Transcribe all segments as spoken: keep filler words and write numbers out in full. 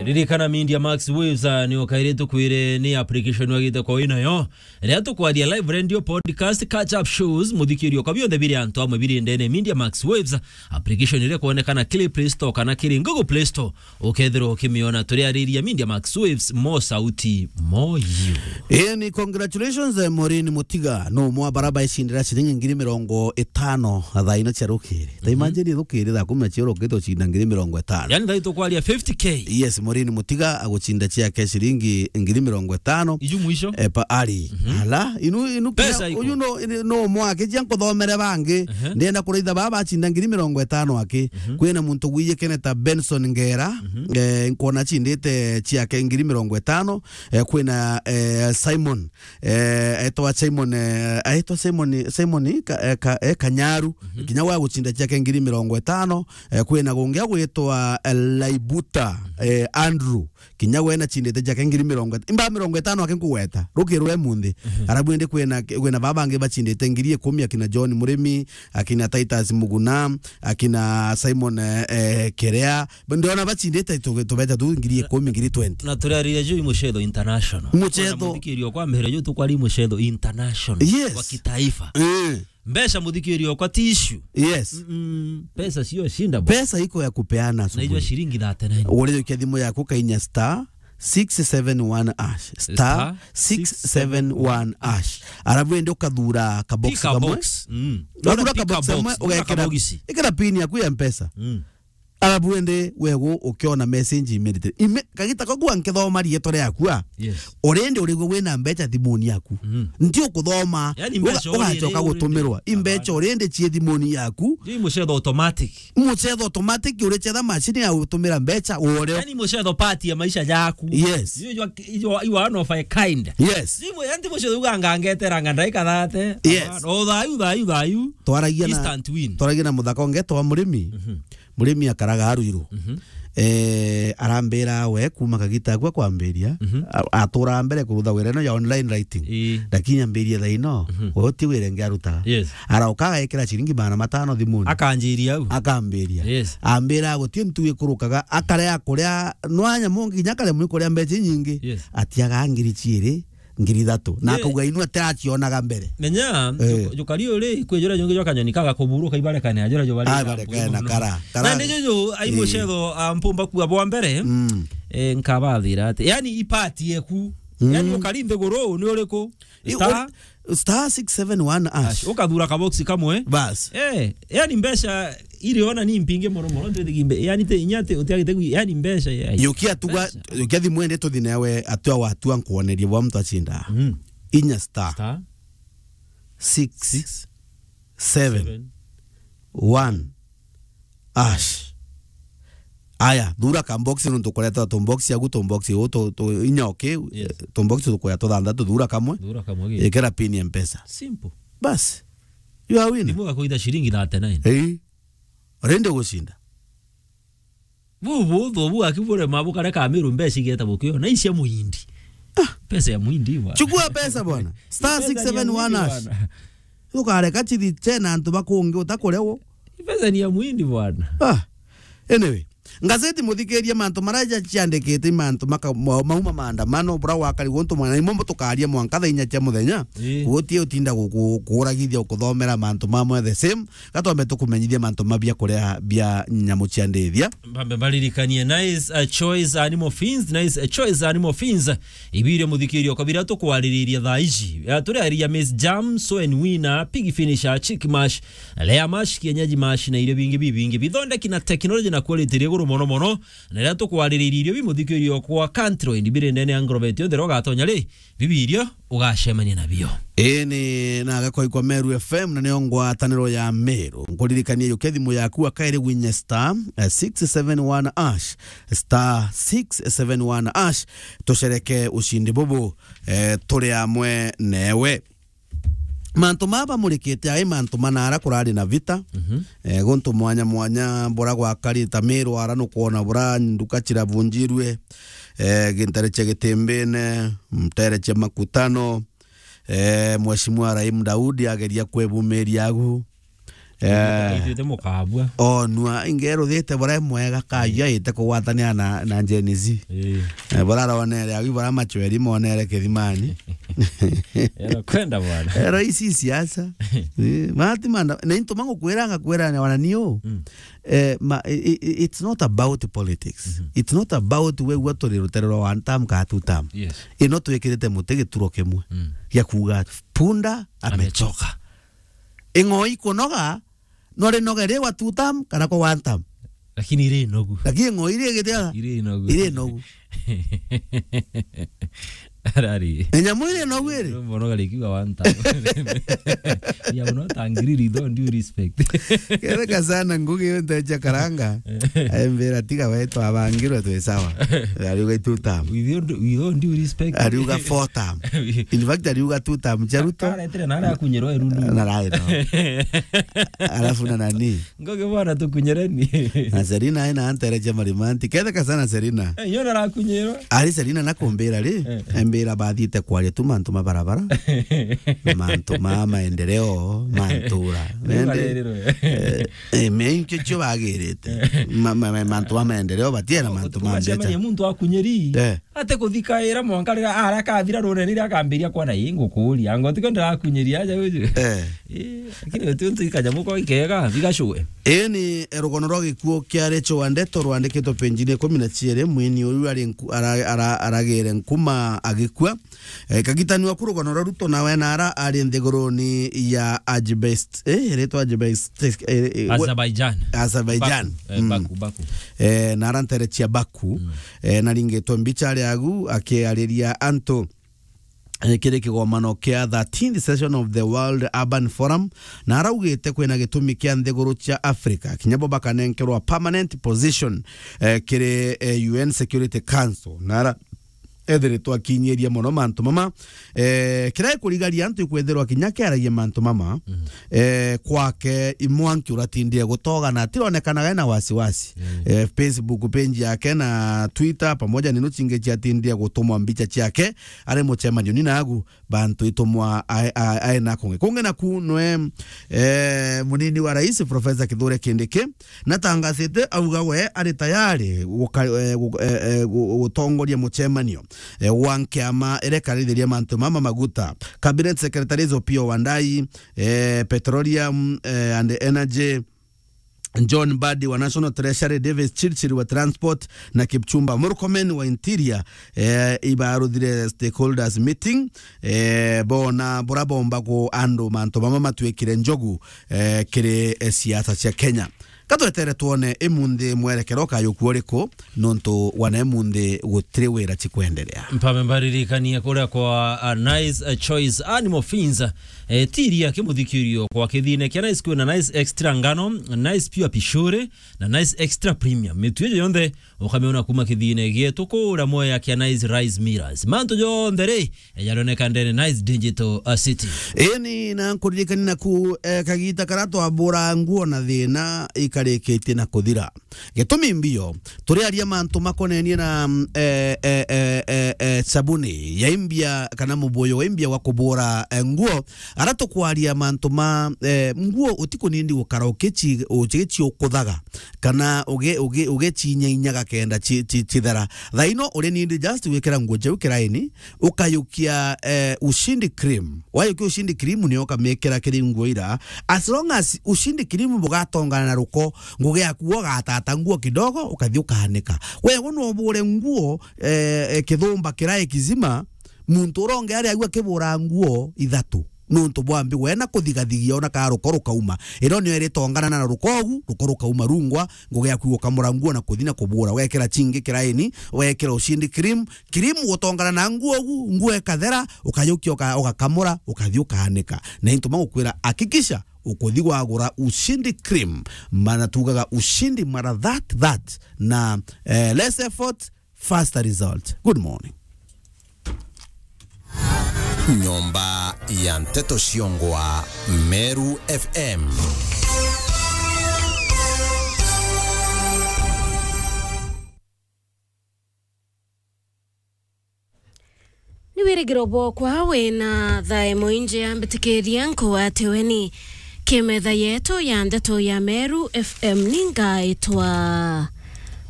Ririkana Media Max Waves, ah, ni ukaire tukwire ni application wagite kwa wina yo. Riria tukwaria live radio, podcast, catch up shows, muthikirio kwa bionthe biri antu amwe biri ndene Media Max Waves, application iria kwonekana kiri Play Store kana kiri Google Play Store, ukethirwa ukimiona. Turiariria Media Max Waves, mo sauti, mo you. Eni, congratulations, eh, Maureen Mutiga. No mwa baraba icindira ciringi ngiri mirongo itano thaa ina cia rukiri. Ta Mhm. imagine rukiri thaa kumi na cia rukiri ucinda ngiri mirongo itano. Yani, thaa itukwaria fifty K. Yes, Maureen Mutiga agucinda ciake ciringi ngiri mirongo itano. Iju mwisho? Eh, pa ari. Mhm. Ala, inu, inu Pesa kinya, iko. Uyu no, no mwake cia nkuthomere bangi. Ehe. Ndienda kuraitha baba acinda ngiri mirongo itano aki. Mhm. Kwina muntu gwiyikene ta Benson Ngera, Mhm. eh, nkwona acindite ciake ngiri mirongo itano. Eh, kwina, eh, Simon, eh, aitwa Simon, eh, aitwa Simon, Simon ka, eh, ka, eh, Kanyaru, Mhm. kinya we agucinda ciake ngiri mirongo itano. Eh, kwina gungi agwitwa, eh, Laibuta, eh, Andrew, kinya we nacindite ciake ngiri mirongo itano. Imba mirongo itano aki nkugweta, rukiri rwe munthi. Mhm. Arabu indi kwina, kwina baba bangi bacindite ngiri ikumi, akina John Murimi, akina Titus Muguna, akina Simon, eh, eh, Kerea. Ndiona bacindite tu-, tubeta tu ngiri ikumi, ngiri twenty. Na turarire juu i mucetho international. Mucetho. Kwina muthikirio kwa mbere juu tukwari mucetho international. Yes. Wa kitaifa. Eh. Mbeca muthikirio kwa ti issue. Yes. Mm-mm. Pesa sio shinda bwana. Pesa iko ya kupeana asubuhi. Na ijo shilingi thirty-nine. Uri ukia thimu yaku kainya star six seven one hash. Star six seven one hash. Star six seven one hash. Alafu ende ukathura ka box kamwe. Pick a box. Mm. Wathura ka box kamwe, ugekera, ikira pin yaku ya Mpesa. Mm. Alafu ende wegu ukiona message immediately. Ime-, kagita kau gwa nkithoma rietwa riaku a. Yes. Already urigwe wina mbeca thimuni yaku. Mm. Nti ukuthoma. Yani mbeca uga-, ugacoka already gutumirwa. Imbeca already cie thimuni yaku. Ni mucetho automatic. Mucetho automatic, uricetha macini ya gutumira mbeca, urio. Yani mucetho part ya maisha jaku. Yes. You, you are, you are, you are one of a kind. Yes. Simu, yani mucetho ugangangetera nga ndaika thate. Yes. O thayu, thayu, thayu. Twaragia na, instant win. Twaragia na muthaka ungetwa Murimi. Mhm. Murimi akaraga Aruiru. Mhm. Eh, arambira we kuma kagita akwa kwambiria, Mhm. a-, atura mbere kurutha wira ino ya online writing. Ii. Lakini ambirie thaa ino, Mhm. we uti wira ngi arutaga. Yes. Arauka agekira ciringi magana matano thimuni. Akanjiria au. Akambiria. Yes. Ambira guti ntu ikurukaga, akarea kuria nwanya mungi, nginya akare mwi kuria mbeca inyingi. Yes. Atiaga ngiri ciiri, ngiri ithatu. Na Ye- akauga inu atiracionaga mbere. Menya, Eh. ju-, jukari uri, kwi juria jungi jwa kanyoni kaga kuburuka ibarekane, juria jubari Ah, barekane na kara, kara. Na ndi juju, ai Eh. mucetho, ah, mpumba kua bwa mbere, Mm. eh, nkabathira ati. Yani, ipati eku. Mm. Yani, ukari nthiguru, ni uriku? I-, Star? uri-, star six seven one hash. Hash. Ukathura kaboksi kamwe. Bas. Eh, yani mbeca iri ona ni mpingi mono mono, nti thigi mbe-, yani te inya te, utiagite gwi-, yani mbeca ya. Yukia tuga, Mbeca. Yukia thimu ende tuthi nawe atua watua nkuonerie bwa mtu acinda. Mm. Inya star. Star. Six. Six. Seven. Seven. One. Hash. Aya, thura ka box nuntu kuretwa tu box yaku, tu box u, tu, tu inya okay, Yes. tu box tukuya tuthanthatu, thura kamwe. Thura kamwe gi. Ikira pin ya Mpesa. Simple. Bas. You are winner. Thimu gakuitha ciringi thirty-nine. Ii. Rende gucinda. Bu, bu, bu, bu, aki bure ma bukare ka Meru mbeca igeta bukio. Na icia muhindi. Ah. Pesa ya muhindi bwana. Chukua pesa bwana. Star six seven one hash. Pesa ni ya muhindi bwana. Ukareka chithi chena antu bakungi utakurewo. Pesa ni ya muhindi bwana. Ah. Anyway, ngazeti muthikiria mantu maraja ciandikite mantu maka-, ma-, mauma maandamano bura wakari guntu mwana imwe mbo tukaria mwanka thaa inya cia muthenya. Ii. Guti utinda guku-, kuuragithia ukuthomera mantu mamwe the same. Gatwambe tukumenyithia mantu mabia kuria bia nyamu cia ndithia. Mbambe mbaririkanie, nice, uh, choice animal feeds, nice, uh, choice animal feeds. Ibirio muthikirio kwa biria tukwaririria thaa ici. Uh, turiariria maize germ, sow and weaner, pig finisher, chick mash, layer mash, kienyeji mash na irio bingi bibingi. Bithondeki na technology na quality iri iguru mono mono. Na riria tukwaririria irio bi muthikirio kwa Cantroid biri ndene ya agrovet yonthe, ugatonya ri, bibirio ugacemania nabio. Ii ni na gakoi kwa Meru F M na nio ngwataniro ya Meru. Nkuririkanie yukia thimu yaku akairi gwinya star, eh, six seven one hash, star six seven one hash, tucereke ushindi bubu, eh, turi amwe newe. Mantu maya bamurikite ai mantu manara kurari na vita. Mhm. Eh, guntu mwanya mwanya bura gwakari ta Meru ara nukwona bura nduka cirabunjirwe, eh, gintere cia Gitimbine, ntere cia Makutano, eh, Mheshimiwa Rahim Daudi ageria kwebumiria agu. Eh. Itwite mukabua. Onua, ingeruthite bura mwega, kayu aite kugwatania na, na Gen Z. Eh. Eh, bura ronere, agu bura machweri monere kithimani. Ero kwenda bwana. Ero ici siasa. Eh, mati manda, na into mangu kwira, ngakwira na wana niu. Mm. Eh, ma, i, i, it's not about politics. Mhm. It's not about we gwa turi rutere rwa one term ka two term. Yes. Ino twikirite muti gituro kimwe. Mm. Gia kuuga punda amechoka. Amechoka. Ing'oi kunoga, no rinoge ri wa two term kana kwa one term. Lakini iri nogu. Lakini ing'oi iri gitiaga? Iri nogu. Iri nogu. Arari. Enyamu iri nogu iri? Mbono gari kiuga one term. Ya, uno tangiriri, don't do respect. Kereka sana ngugi yo nteja karanga. Aimbira tiga we twabangirwe twi sawa. Ariuga two term. We don't, we don't do respect. Ariuga four term. In fact, ariuga two term cia Ruto. Aretire na aria akunyirwa irundu. Na rai no. Alafu na nani? Ngoge bwana tukunyireni. Na Serina aina antereje marimanti. Ketheka sana Serina. Eh, yo narakunyirwa. Ari Serina nakumbira ri, eh, embira bathiite kwaria tu mantu ma barabara. Mantu ma maendeleo, mantura. Nende, eh, eh, me inke cio bagirite. Ma, ma, ma, mantu ma maendeleo, batiena mantu ma mbeca. Muntu akunyiri. Eh. Ate kuthikaira mwanka riria ara kathira runene riria akambiria kwana, "Ii, ngukuria, anga utiko ndirakunyiria aja uju?" Eh. Eh, lakini uti untu ikanyamu ko ikega, bigacue. Ii ni rugono rwa gikuo kia Rachel Wandeto rwandikitwe penjini ikumi na ciiri, mwini uyu ari nku-, ara-, ara-, aragire nkuma agikua. Eh, kagitanua ku rugono rwa Ruto nawe nara ari nthiguruni ya Ajibest-, eh, iretwa Ajibest-, eh, eh, we-, Azerbaijan. Azerbaijan. Baku, eh, mm. Baku, Baku. Eh, nara ntere cia Baku. Mm. Eh, naringitwe mbicha ari agu akiariria antu, eh, kiri kigomano kia thirteenth session of the World Urban Forum, na araugite kwina gitumi kia nthiguru cia Africa kinya bo bakanenkerwa permanent position, eh, kiri, eh, U N Security Council. Na ara ethiritwe akinyiria mono mantu mama, eh, kiria ikurigaria antu ikwethirwa kinya kiaragia mantu mama, mm, eh, kwake imwanki uratindire gutogana, atironekanaga ena wasiwasi. Mm. Eh, Facebook page yake na Twitter pamoja nino cingi ciatindire gutumwa mbicha ciake ari mucemanio ni nagu bantu itumwa ae-, ae-, ae na kungi. Kungi naku nwe, eh, munini wa rais Professor Kithure Kindiki natangasite auga we ari tayari guka-, eh, gu-, eh, eh, gu-, gutongoria mucemanio, eh, wa nkiama iria ikarithiria mantu mama maguta. Cabinet Secretaries Opiyo Wandayi, eh, Petroleum, eh, and Energy, John Mbadi wa National Treasury, Davis Chirchir wa Transport na Kipchumba Murkomen wa Interior, eh, ibaruthire stakeholders meeting, eh, bona bura bomba ku andu mantu mama matwikire njogu, eh, kiri, eh, siasa cia Kenya. Katwetere twone imunthi mwerekero ukayukua uriku, nontu wana imunthi gutiri wira cikwenderea. Mpame mbaririkanie kuria kwa, ah, Nice, eh, Choice Animal Feeds, eh, tiria kimuthikirio kwa kithine kia Nice kwina Nice Extra Ngano, Nice Pure Pishori, na Nice Extra Premium. Mitu ijo yonthe ukamiona kuma kithine gietu kuria Mwea kia Nice Rice Millers. Mantu jonthe ri, eh, jaroneka ndene Nice Digital, uh, City. Eni, na nkuririkani naku, eh, kagita karia twabura nguo na thina ikarikitie na kuthira. Gitumi mbio, turiaria mantu makonenie na, mm, eh, eh, eh, eh, eh, sabuni ya imbia kana mubuyu wa imbia wa kubura, eh, nguo. Ara tukwaria mantu ma, eh, nguo utikunindi gukara ukici-, ukici ukuthaga, kana uge-, uge-, ugecinyainyaga kenda ci-, ci-, cithera. Thaino uri nindi just gwikira nguo jau kiraini, ukayukia, eh, Ushindi cream. Wayukia Ushindi cream, nio ukamikira kiri nguo ira. As long as Ushindi cream bugatongana na ruko, ngugi yaku ugatata nguo kidogo, ukathi ukanika. Wewe no ubure nguo, eh, eh, kithumba kirai kizima, muntu uronge ari agu akibura nguo ithatu. Nontu bwa mbi, we na kuthigathigia ona ka ruko rukauma. Ino nio iritongana na ruko ugu, ruko rukauma rungwa, ngugi yaku ukamura nguo na kuthi na kubura. Wekira chingi kiraini, wekira Ushindi cream, cream gutongana na nguo ugu, nguo ikathera, ukajukia uka-, ugakamura, ukathi ukaanika. Na into magukwira, hakikisha ukuthi wagura Ushindi cream. Mana tugaga Ushindi mara that, that. Na, eh, less effort, faster result. Good morning. Nyomba ya Nteto Ciongwa, Meru F M. Ni wirigiro bwokwa wina thae mwingi, ambitikiria nkugwate weni. Kimetha yetu ya ndeto ya Meru F M ningaitwa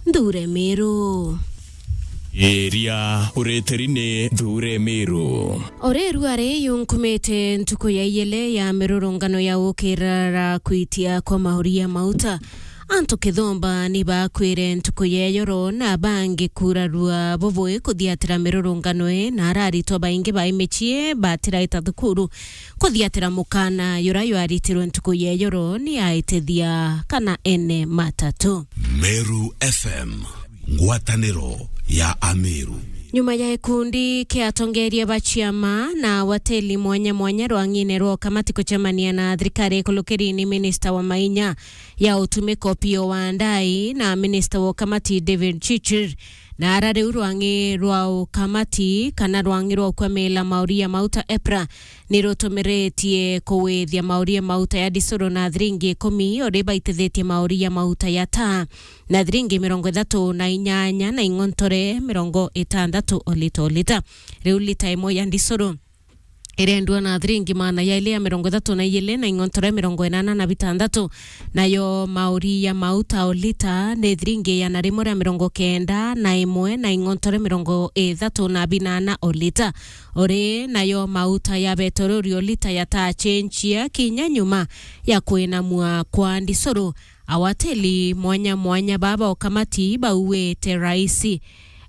Nthure Miru. Iria uritiri ni Nthure Miru. Ore rua ri yunkumite ntuku ya iyele ya mirurungano ya gukirara kwitia kwa mauri ya mauta. Antu kithomba ni bakwire ntuku ya iyoro na bangi kurarua bubui kuthiatira mirurungano ii, na araritwa baingi ba imicii batiraita thukuru kuthiatira mukana yura yaritirwe ntuku ya iyoro ni aitithia kana ene matatu. Meru F M, ngwataniro ya Ameru. Nyuma ya gikundi kia atongeria ba ciama na wateli mwanya mwanya rwang'ine rwa ukamati kucemania na thirikari ikulukiri ni minista wa mainya ya utumiko Opiyo Wandayi na minista wa ukamati David Chirchir, na ara riu rwang'i rwa ukamati kana rwang'i rwa ukwamila mauri ya mauta EPRA ni rutumiritie kuwithia mauri ya mauta ya disuru na thiringi ikumi, uri baitithitie mauri ya mauta ya taa na thiringi mirongo ithatu na inyanya na ing'ontore mirongo itandatu o lita o lita. Riu lita imwe ya disuru irendua na thiringi maana ya ili ya mirongo ithatu na ijili na ing'ontore mirongo inana na bitandatu, nayo mauri ya mauta o lita ni thiringi igana rimwe ria mirongo kenda na imwe na ing'ontore mirongo ithatu na binana o lita. Uri nayo mauta ya betorori o lita yatacenjia kinya nyuma ya kwinamua kwa disuru. Awateli mwanya mwanya baba ukamati bauite raisi,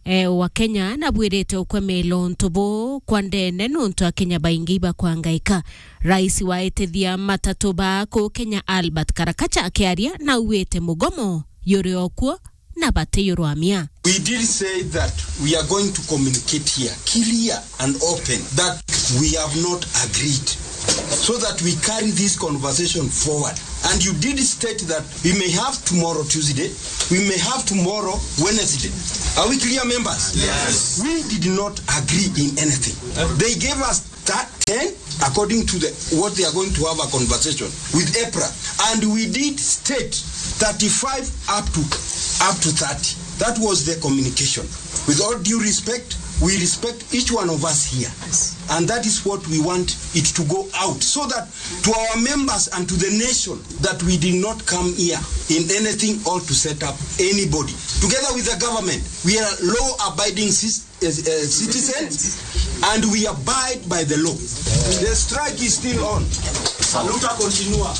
eh, wa Kenya nabwirite ukwemela untu buu kwa ndene nuntu Akenya baingi ibakwangaika. Raisi waitithia matatu ba kuu Kenya Albert Karakacha akiaria nauite mugomo yuri okuo na batiyurwamia. We did say that we are going to communicate here clear and open that we have not agreed, so that we carry this conversation forward. And you did state that we may have tomorrow Tuesday, we may have tomorrow Wednesday. Are we clear, members? Yes. We did not agree in anything. They gave us that ten, according to the, what they are going to have a conversation with EPRA. And we did state thirty-five up to, up to thirty. That was the communication. With all due respect, we respect each one of us here. And that is what we want it to go out, so that to our members and to the nation, that we did not come here in anything or to set up anybody. Together with the government, we are law-abiding cis-, uh, uh, citizens, and we abide by the law. The strike is still on. Saluta continua.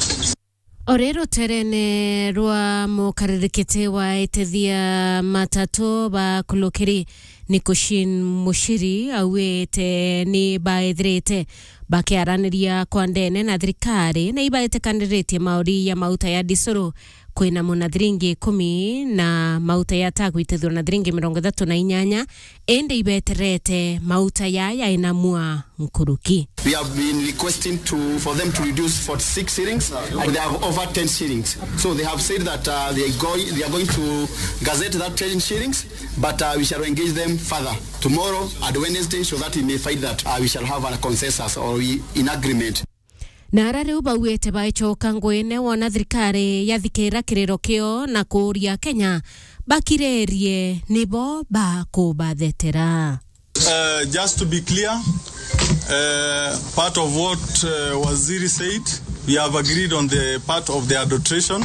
Ore ruterene rwa mukaririkite wa itithia matatu ba kulukiri ni Kushin Mushiri auite ni baithirite bakiaraniria kwa ndene na thirikari na ibaitikaniritie mauri ya mauta ya disuru kwina muna thiringi ikumi na mauta ya taa gwitithirwa na thiringi mirongo ithatu na inyanya, indi ibeterete mauta ya yainamua nkuruki. We have been requesting to, for them to reduce forty-six shillings, and they have over ten shillings. So they have said that, uh, they are going, they are going to gazette that ten shillings, but, uh, we shall engage them further tomorrow and Wednesday so that we may find that, uh, we shall have a consensus or we, in agreement. Na ara riu bauite baicoka nguine wona thirikari yathikira kiriro kio na kuuria Kenya bakirerie nibo bakubathetera. Uh, just to be clear, uh, part of what, uh, Waziri said, we have agreed on the part of the adulteration,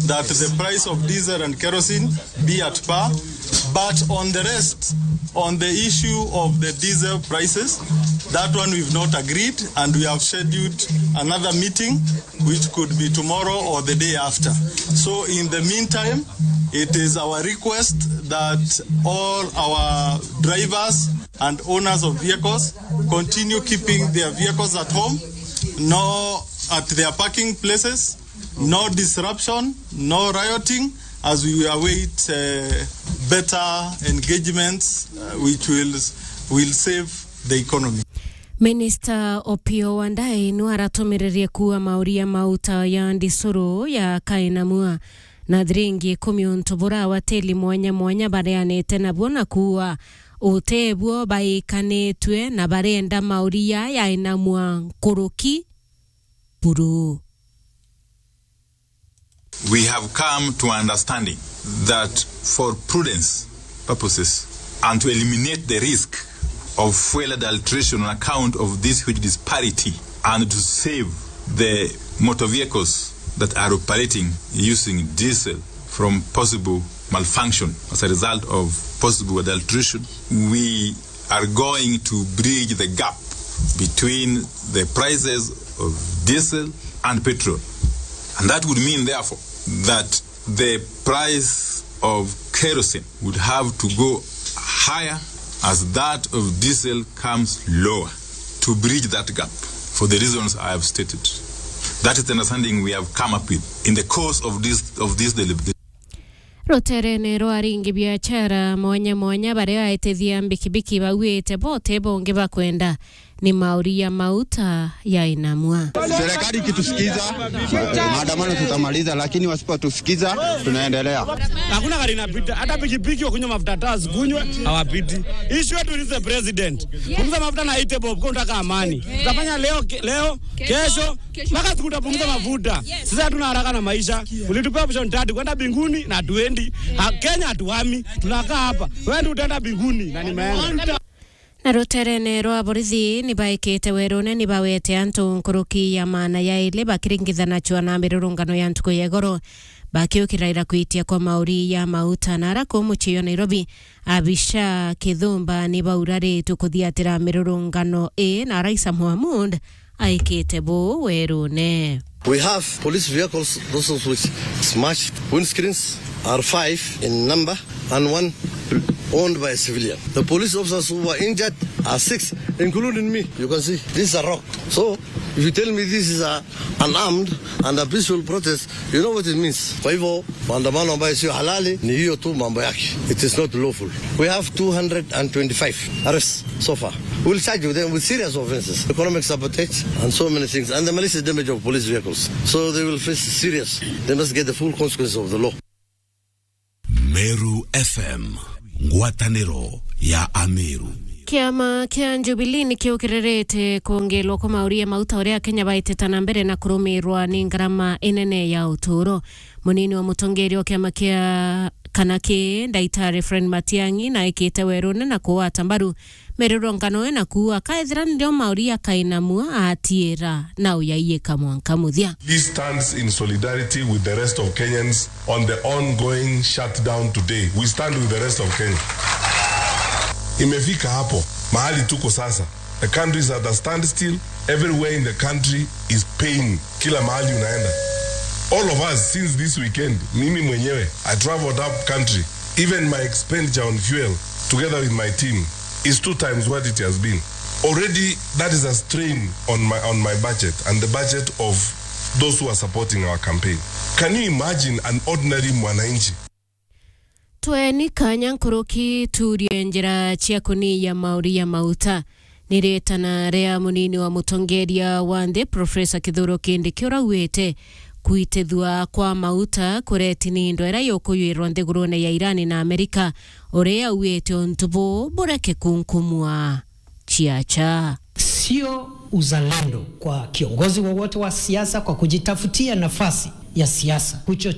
that the price of diesel and kerosene be at par, but on the rest, on the issue of the diesel prices, that one we've not agreed, and we have scheduled another meeting which could be tomorrow or the day after. So in the meantime, it is our request that all our drivers and owners of vehicles continue keeping their vehicles at home, no at their parking places, no disruption, no rioting, as we await, uh, better engagements, uh, which will, will save the economy. Minister Opiyo Wandayi nu aratumiririe kuua mauria mauta ya ndisuru ya kainamua na thiringi ikumi untu bura awateli mwanya mwanya bareanite nabuo na kuua utebuo baikanitue na barenda mauria yainamua nkuruki buru. We have come to understanding that for prudence purposes and to eliminate the risk of fuel adulteration on account of this huge disparity and to save the motor vehicles that are operating using diesel from possible malfunction as a result of possible adulteration, we are going to bridge the gap between the prices of diesel and petrol. And that would mean, therefore, that the price of kerosene would have to go higher as that of diesel comes lower to bridge that gap for the reasons I have stated. That is the understanding we have come up with in the course of this, of this deliberation. Ruterene rwa aringi biachara mwanya mwanya baria aitithia mbikibiki bauite bote bongi bakwenda ni mauri ya mauta ya inamua. Serikali ikitusikiza, maandamano tutamaliza, lakini wasipotusikiza, tunaendelea. Hakuna gari inapita, hata pikipiki wakunywa mafuta, hata wasikunywe, hawapiti. Issue yetu is the president. Punguza mafuta na eighty bob, kwa unataka amani. Tutafanya leo, ke-, leo, kesho, mpaka siku utapunguza mafuta. Sisi hatuna haraka na maisha. Ulitupea option tatu, kwenda mbinguni na hatuendi. Ha, Kenya hatuhami, tunakaa hapa. Wewe ndio utaenda mbinguni na nimeenda. Na ruterene rwa borithi ni baikite werune ni bawete antu nkuruki ya maana ya ili bakiringithanachwa na mirurungano ya ntuku ya igoro, bakiukiraira kwitia kwa mauri ya mauta. Na ara kuu mucii wa Nairobi, Abisha Kithumba ni bauraritwe kuthiatira mirurungano ii, na Raisa Mohamud aikite buu werune. We have police vehicles, those of which smashed. Windscreens are five in number and one owned by a civilian. The police officers who were injured are six, including me. You can see, this is a rock. So, if you tell me this is a, an armed and a peaceful protest, you know what it means. Kwa hivyo, maandamano ambayo sio halali ni hiyo tu mambo yake. It is not lawful. We have two hundred and twenty-five arrests so far. We'll charge them with serious offenses, economic sabotage, and so many things, and the malicious damage of police vehicles. So they will face serious, they must get the full consequences of the law. Meru F M, ngwataniro ya Ameru. Kiama kia Jubilee ni kiukiririte kwongerwa kwa mauri ya mauta uria Akenya baitite na mbere na kurumirwa ni ngarama inene ya uturo. Munini wa mutongeria wa kiama kia kana ki, Ndaitari Fred Matiang'i, na aikite werune na kugwata mbaru mirurungano ii na kuuga, kaethira ndio mauri akainamua, atiira na uyaiyika mwanka muthia. This stands in solidarity with the rest of Kenyans on the ongoing shutdown today. We stand with the rest of Kenya. Imefika hapo mahali tuko sasa. The country is at a standstill. Everywhere in the country is pain. Kila mahali unaenda. All of us, since this weekend, mimi mwenyewe, I traveled up country. Even my expenditure on fuel, together with my team, is two times what it has been. Already, that is a strain on my, on my budget and the budget of those who are supporting our campaign. Can you imagine an ordinary mwananchi? Tweni kanya nkuruki tuurie njira cia kuniia mauri ya mauta. Ni ritana ria munini wa mutongeria wa nthi, Professor Kithure Kindiki, uria augite kuitithua kwa mauta kureti ni indo iria yukuyuirwa nthigurune ya Iran na Amerika, uria augite untu buu bureke kunkumua ciacha. Sio uzalendo kwa kiongozi wowote wa siasa kwa kujitafutia nafasi ya siasa, kuchochea